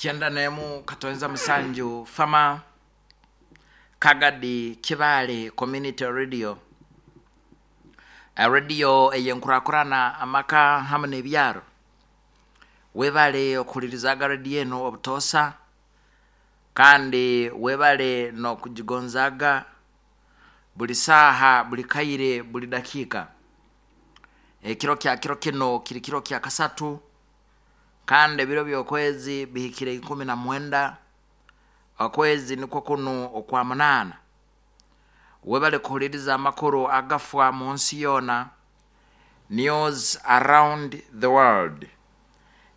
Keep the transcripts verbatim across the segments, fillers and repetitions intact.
Kyenda nemu katonza musanju Fama Kagadi Kibale Community Radio, radio eyenkurakurana amaka hamu n'ebyaro. Webale okuhulirizaga radio eno obutosa, kandi webale n'okugigonzaga buli saaha, buli kaire, buli dakiika. Ekiro kya kiro kino kiri kiro kya kasatu, kandi ebiro by'okwezi bihikire ikumi na mwenda, okwezi nikwo kunu okwa munaana. Webale kuhuliriza amakuru agafwa mu nsi yoona, news around the world,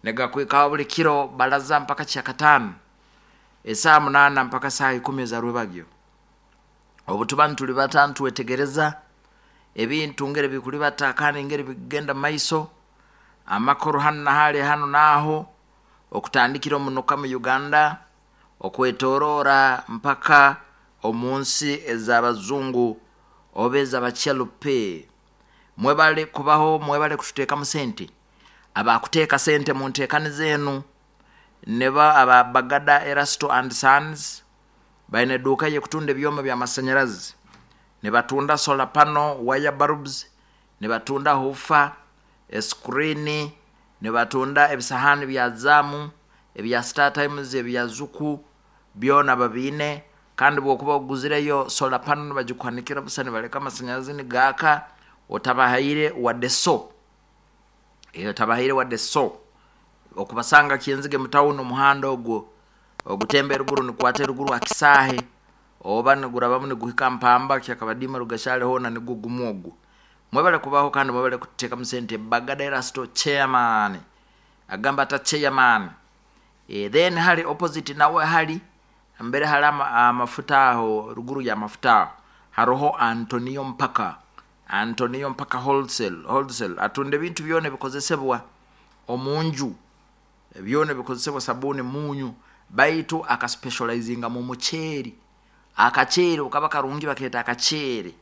negakwikaho buli kiro balaza mpaka kyakataano esaaha munaana mpaka saaha ikumi ezarwebagyo. Obu tuba ntulibata ntwetegereza ebintu ngeri bikulibata kandi ngeri bikugenda maiso, amakuru hanu na hali, hanu naaho, okutandikira omunuka mu Uganda, okwetorora mpaka omu nsi ez'abazungu oba ez'abakyalupe. Mwebale kubaho, mwebale kututeekamu sente. Abakuteeka sente mu nteekaniza enu nibo aba Bagada Erasto and Sons. Baine eduuka y'ekutunda ebyoma by'amasanyarazi, nibatunda solar panel, wire bulbs, nibatunda woofer, escreen, nibatunda ebisahani bya Zaamu, ebya Star Times, ebya Zuku, byona babiine. Kandi bwokuba oguzireyo solar panel, nibagikuhanikira busa, nibaleka amasanyarazi nigaaka otabahaire wadde so, otabahaire wadde so. Okubasanga Kyenzige mu tawuni, omuhanda ogwo ogutemba eruguru nikwata eruguru akisaahe oba nigurabamu niguhika Mpamba Kyakabadima Rugashale, hoona nigwo gumu ogwo. Mwebale kubaho kandi mwebale kututeekamu sente. Bagada Erasto chairman agamba ata chairman? e, then hali opposite nawe, hali mbere hali ama, amafuta aho, ruguru ya mafuta aho haroho Antonio Mpaka, Antonio Mpaka wholesale wholesale atunda ebintu byona ebikozesebwa omunju, byona ebikozesebwa, sabuni, munyu, baitu akaspecializinga mu muceeri. Akaceeri okaba karungi, bakeeta akaceeri,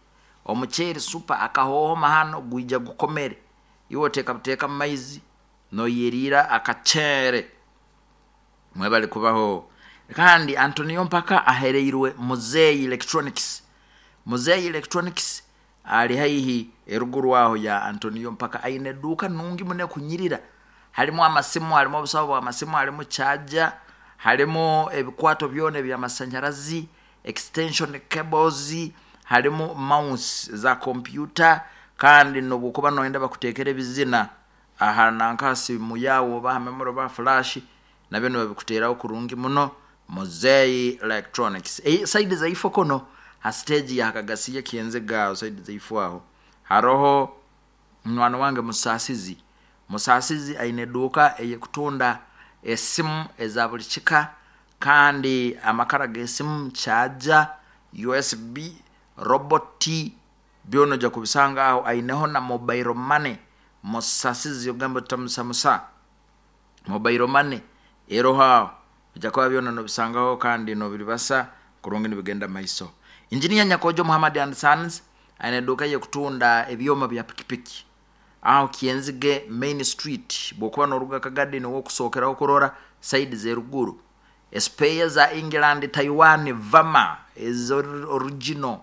omuceeri super, akahohoma hano gwija gukomere, iwe oteeka buteeka mu maizi noyeriira akaceere. Mwebale kubaho. Kandi Antonio Mpaka ahereirwe Muzeyi Electronics. Muzeyi Electronics ali haihi eruguru aho ya Antonio Mpaka, aine eduuka nungi muno ekunyirira, halimu amasimu, halimu obusawo bw'amasimu, halimu charger, halimu ebikwato byona ebyamasanyarazi, extension cables, halimu mouse za kompyuta. Kandi nobwokuba noyenda bakuteekera ebizina aha nanka simu yawe oba ha memory oba flash, nabyo nibabikuteeraho kurungi muno. Muzeyi Electronics e, side zaifo kono ha stage ya Kagasiya Kyenzega aho side zaifo aho haroho mwana wange Musasizi. Musasizi aine eduuka eyekutunda esimu eza buli kika, kandi amakara g'esimu, charger, U S B, robot, byona ojja kubisanga aho. Aineho na mobile money. Musasizi ogamba otamusamusa, mobile money eroho aho, ojja kuba byona nobisangaho kandi nobiribasa kurungi nibigenda maiso. Engineer Nyakojo Muhammad and Sons aine eduuka yekutunda ebyoma bya pikipiki aho Kyenzige Main Street. Bwokuba noruga Kagadi, niwo okusookeraho kurora side z'eruguru. Espare za England, Taiwan, Vama eza original,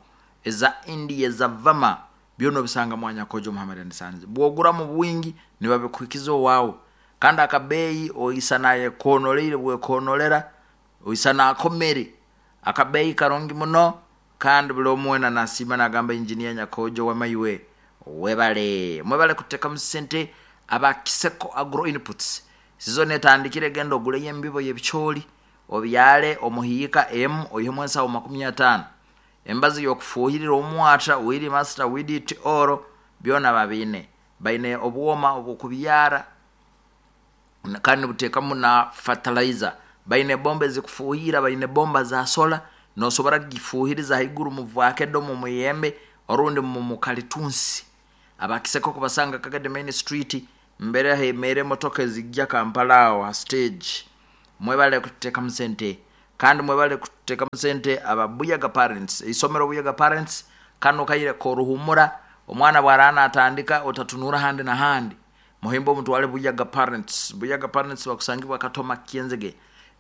eza India, eza Vama, byona obisanga mwa Nyakojo Muhammad and Sons. Bwogura mu bwingi nibabikuhikiza owaawe, kandi akabeeyi oisa nayekonoleire, bwekonolera oisa nakomere akabeeyi karungi muno, kandi buli omu wena nasiima nagamba, "Engineer Nyakojo wamaiwe webale." Mwebale kuteekamu sente. Abakiseko Agro Inputs, sizoni etandikire, genda oguleyo embibo y'ebicooli obyale omuhiika emu oihemu ensawo makumi ataano. Embazi y'okufuuhirira omwata, Weed Master, Weed Oro, byona babiine. Baine obwoma obwokubyara kandi nibuteekamu na fertilizer. Baine bomba ezikufuuhira, baine bomba za solar, nosobora kugifuuhiriza haiguru mu vakedo, mu muyembe orundi mu mukalitunsi. Abakiseko kubasanga Kagadi Main Street, mbere hemere emotoka ezijja Kampala aho ha stage. Mwebale kuteekamu sente, kandi mwebale kuteekamu sente ababuyaga parents, isomero Buyaga Parents. Kano kaire koruhumura, omwana bwarana natandika otatunura handi na handi, muhimba omutwale Buyaga Parents. Buyaga Parents bakusangibwa Katoma Kyenzige.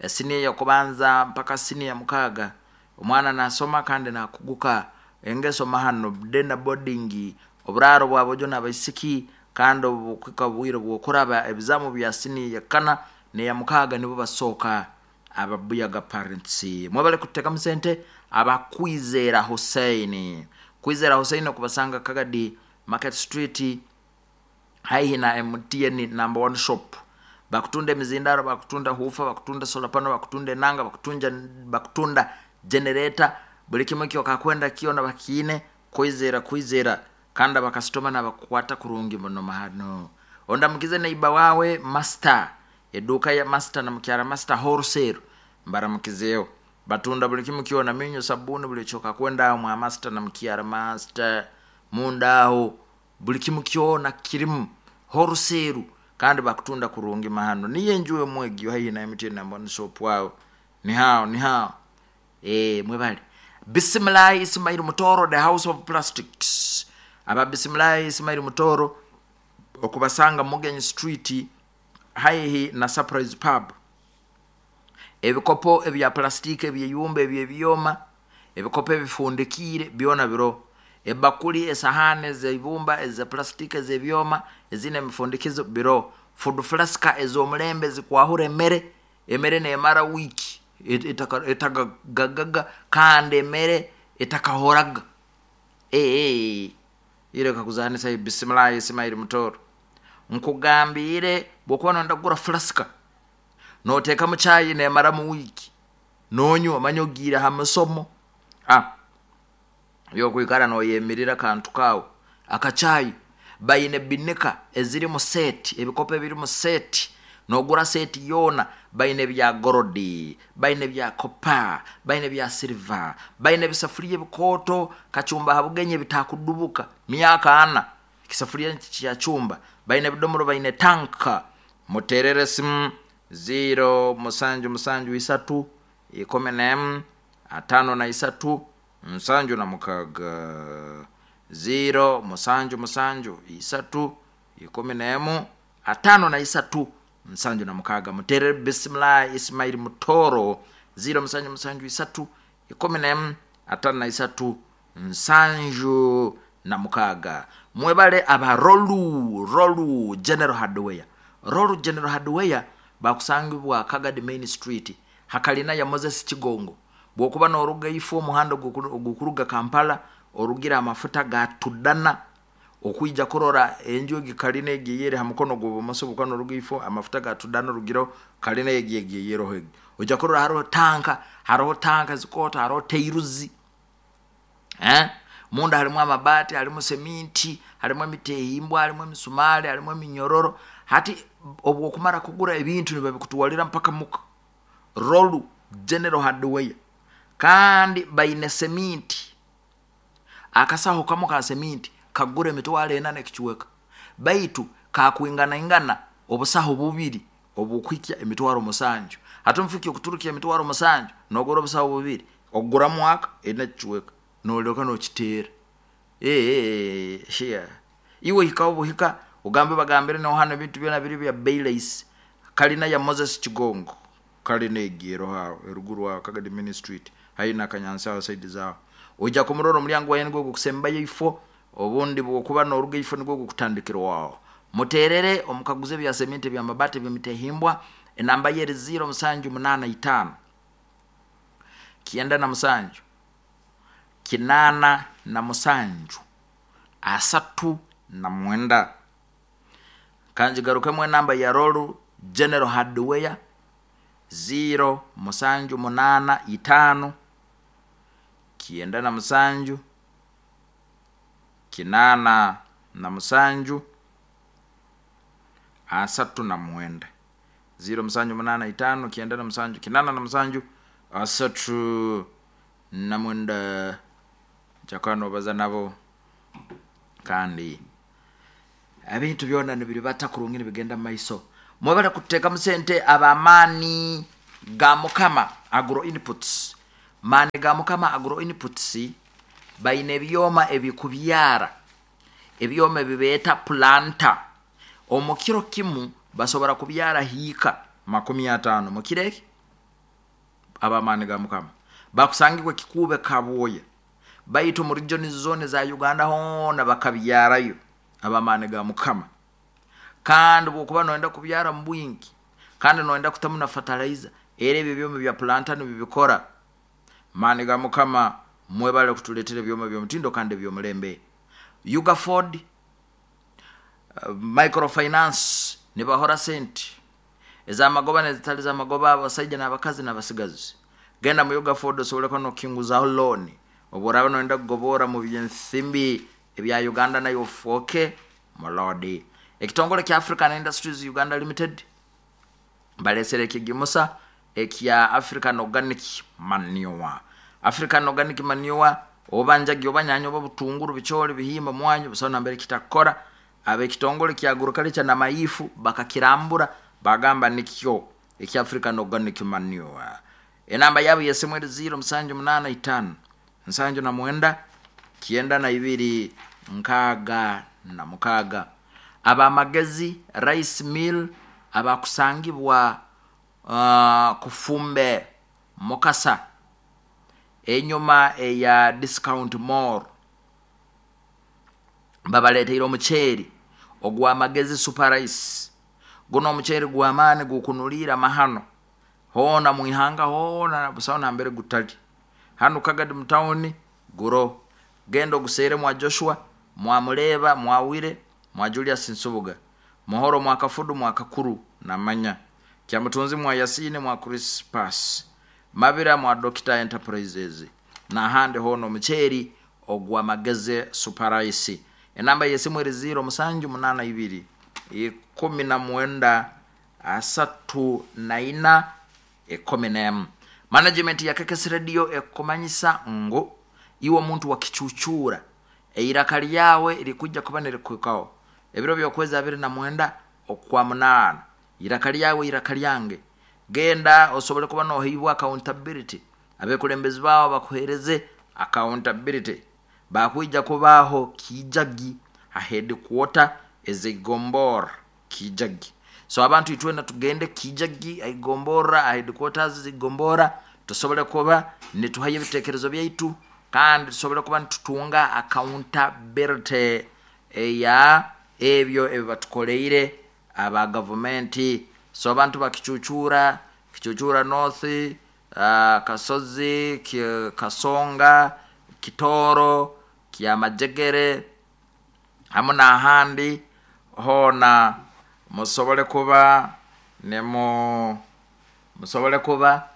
Siniya yakubanza mpaka siniya mukaaga omwana nasoma kandi nakuguka engeso mahano dena boarding oburaro bwabojo n'abaisiki kandi obukwika bwire bwokuraba ebizamu bya siniya yakana neya mukaaga nibo basooka ababuyaga parents. Mwebale kutekamu sente abakwizera Hussein. Kwizera Hussein okubasanga Kagadi Market Street haihi na M T N number one shop. Bakutunda emizindaro, bakutunda hufa, bakutunda solar panel, bakutunda enanga, bakutunja, bakutunda generator, buli kimwe kyo kakwenda kiona bakiine. Kwizera kwizera kandi abakasitoma nabakwata kurungi muno mahano. Ondamukize neiba wawe master, eduka ya master na mukyara master wholesale mbaramukizeyo, batunda buli kimwe kiona, minyo, sabuni, buli kyo kakwenda mwa master na mukyara master mundaho buli kimwe kiona kirimu wholesale kandi bakutunda kurungi mahano. Niye njuwe mwegyo haihi na M T N number one shop wao. Ni hao, ni hao. Eh, mwebale. Bismillah Ismail Mutoro, the house of plastics. Aba Bismillah Ismail Mutoro okubasanga Mugenyi Street haihi na Surprise Pub. Ebikopo ebya plastiki, ebyeyumba, ebyebyoma, ebikopo ebifundikire byona biro. Ebakuli, esahani zeibumba, eza plastiki, ezebyoma, ezine emifundikizo biro. Food flask ezomulembe zikwahura emere, emere nemara wiki etagagaga kandi emere etakahoraga. Eh, eh, ile kakuzanisa Bismillah Ismail Mutoro. Nkugambire bwokuba nonda kugura flask noteka mu chai nemara mu wiki nonywa manyogira ha masomo. Ah, yo kuikara noyemirira kantu kawo akachai bayine binika eziri mu set, ebikopo ebiri mu set, nogura set yona bayine bya gorodi, bayine bya copper, bayine bya silver, bayine bisafuria bikoto kachumba habugenye bitakudubuka miaka ana kisafuria kya chumba, bayine bidomoro, bayine tanka. Muterere simu zero musanju musanju isatu ikumi na emu atano na isatu nsanju na mukaga. Zero musanju musanju isatu ikumi na emu atano na isatu nsanju na mukaga. Muterere Bismillah Ismail Mutoro zero musanju musanju isatu ikumi na emu atano na isatu nsanju na mukaga. Mwebale aba Rolu, Rolu General Hardware. Rolu General Hardware bakusangibwa Kagadi Main Street hakalina ya Moses Kigongo. Bwokuba noruga ifo omuhanda ogukuruga Kampala orugira amafuta ga tudana okuija kurora enju egikalina egiyere ha mukono gw'obumoso, bukono noruga ifo amafuta ga tudana orugiro kalina egiyere hegi oja kurora hariho tanka, hariho tanka zikota, hariho teiruzi eh munda harimu amabati, harimu seminti, harimu emitehimbwa, harimu emisumari, harimu eminyororo. Hati obwo kumara kugura ebintu nibabikutuwalira mpaka muka. Rolu General Hardware kandi bayine seminti, akasaho kamo ka seminti kagure emitwalo ena nekichweka, baitu kakwingana ingana obusaho bubiri obukwikya emitwalo musanju. Ate mfiki okuturukia emitwalo musanju nogura obusaho bubiri ogura mwaka ena kichweka nolyoka nokiteera. Eh, eh, shia iwe hika obuhika ugambe bagambire no hano ebintu byona biri bya Baileys kalina ya Moses Kigongo kalina egero hawo eruguru wa Kagadi Main Street haina kanyansa side zao. Oja kumurora omulyango waye nigwo gukusembayo ifo obundi bwokuba noruga ifo nigwo gukutandikira wawo. Muterere omukaguze bya sementi bya mabati bimitehimbwa. Enamba yeri zero musanju munana itano kienda na musanju kinana na musanju asatu na mwenda. Kanji garukemwe namba ya Rolu General Hardware zero musanju munana itano kienda na musanju kinana na musanju asatu na mwenda. Zero musanju munana itano kienda na musanju kinana na musanju asatu na mwenda. Jakano baza nabo kandi ebintu byona nibiribata kurungi nibigenda maiso. Mwebale kuteka musente abamani ga Mukama Agro Inputs. Mani ga Mukama Agro Inputs bayine ebyoma ebikubyara, ebyoma ebibeeta planta. Omukiro kimu basobora kubyara hiika makumi atano mukireke Abamaani ga Mukama bakusangibwa Kikuube, Kabwoya, baitu mu region zone za Uganda hoona bakabyarayo. Abamaani ga Mukama, kandi bwokuba noyenda kubyara mu bwingi kandi noyenda kutamu na fertilizer, era ebyo byoma bya planter nibibikora. Maani ga Mukama, mwebale kutuleetera ebyoma by'omutindo kandi ebyomulembe. Ugaford uh, microfinance nibahora sente ezamagoba nezitali zamagoba, abasaija n'abakazi n'abasigazi. Genda mu Ugaford osobole kuba nokinguzaho loan obu oraba noyenda kugobora mu byensimbi ebya Uganda, nayo ofuuke mulodi. Ekitongole kya African Industries Uganda Limited balesere ekigimusa ekya African Organic Manure. African Organic Manure, oba njagi, oba nyanya, oba butunguru, bicholi, bihimba, mwanyu, busaho nambere kitakora. Abekitongole kya agriculture na maifu bakakirambura, bagamba nikyo ekya African Organic Manure. Enamba yabo yesimu eri zero musanju munana itano nsanju na mwenda kyenda na ibiri nkaaga na mukaaga. Abamagezi Rice Mill abakusangibwa uh, Kufumbe Mukasa, enyuma eya Discount Mall, babaleteire omuceeri ogw'Amagezi Super Rice. Guno omuceeri gw'amaani, gukunuliira mahano hoona mwihanga hoona, busaho nambere gutali. Hanu Kagadi mutawuni guro, genda oguseere mwa Joshua, mwamuleba, mwawire, mwa Julius Nsubuga, Muhoro, mwa Kafudu, mwa Kakuru namanya Kyamutunzi, mwa Yasini, mwa Crispas Mabira, mwa Doctor Enterprises n'ahandi hoona omuceeri ogw'Amagezi Super Rice. Enamba yesimu eri zero musanju munana ibiri ikumi na mwenda asatu na ina ikumi n'emu. Management ya Kekes Radio ekumanyisa ngu iwe omuntu wakicucura, eiraka lyawe likujja kuba nirikuhikaho ebiro byokwezi abiri na mwenda okwa munaana. Iraka lyawe, iraka lyange, genda osobole kuba noheibwa accountability, abekulembezi bawo bakuhereze accountability. Bakwija kubaho Kijagi ha headquarter ezigombora Kijagi. So abantu itwena tugende Kijagi aigombora, a headquarters zigombora, tusobole kuba nituhayo ebitekerezo byaitu kandi tusobole kuba nitutunga accountability eya ebyo ebibatukoleire aba gavumenti. So abantu bakicucura, Kicucura North, uh, Kasozi, Kasonga, Kitoro, Kyamajegere hamu n'ahandi hoona, musobole kuba nemu musobole kuba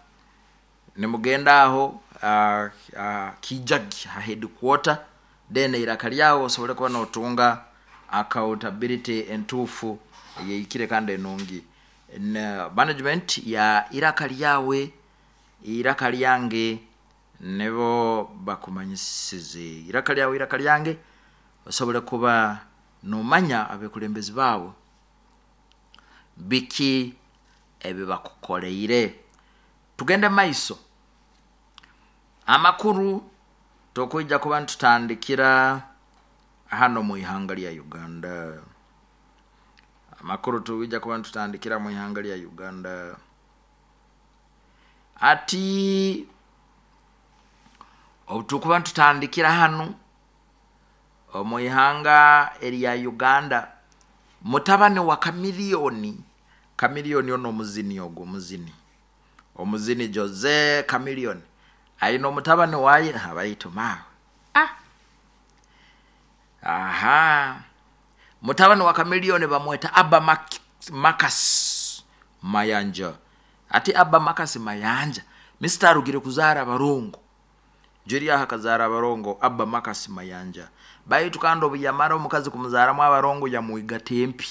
nimugenda aho uh, uh, Kijagi ha headquarter, then iraka lyawo osobole kuba notunga accountability entuufu yeikire kandi enungi. Na management ya iraka lyawe, iraka lyange, nibo bakumanyisize iraka lyawe, iraka lyange, osobole kuba nomanya abekulembezi baawe biki ebibakukoleire. Tugende maiso, amakuru tokwija kuba ntutandikira hano mu ihanga lya Uganda. Amakuru tuwija kuba ntutandikira mu ihanga lya Uganda. Ati obu tukuba ntutandikira hano omu ihanga erya Uganda, mutabani wa Kamiliyoni, Kamiliyoni ono omuzini, ogwo omuzini, omuzini Jose Kamiliyoni, ayina omutabani waye abayito maawe. Ah, aha, mutabani wa Kamiliyoni bamweta Abba Mak- makas Mayanja. Ati Abba Makasi Mayanja misita arugire kuzaara abarongo, jeriaho akazaara abarongo. Abba Makasi Mayanja, baitu kandi obu yamara omukazi kumuzaaramu abarongo, yamwigata empi,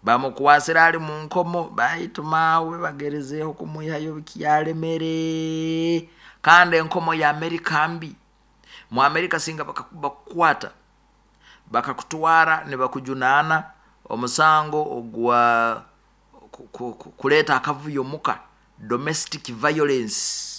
bamukwasira ali mu nkomo. Baitu maawe bagerezeeho kumwihayo bikyalemere, kandi enkomo ya Amerika mbi. Mu Amerika singa bakukwata bakakutwara nibakujunaana omusango ogwa kuleeta akavuyo muka, domestic violence.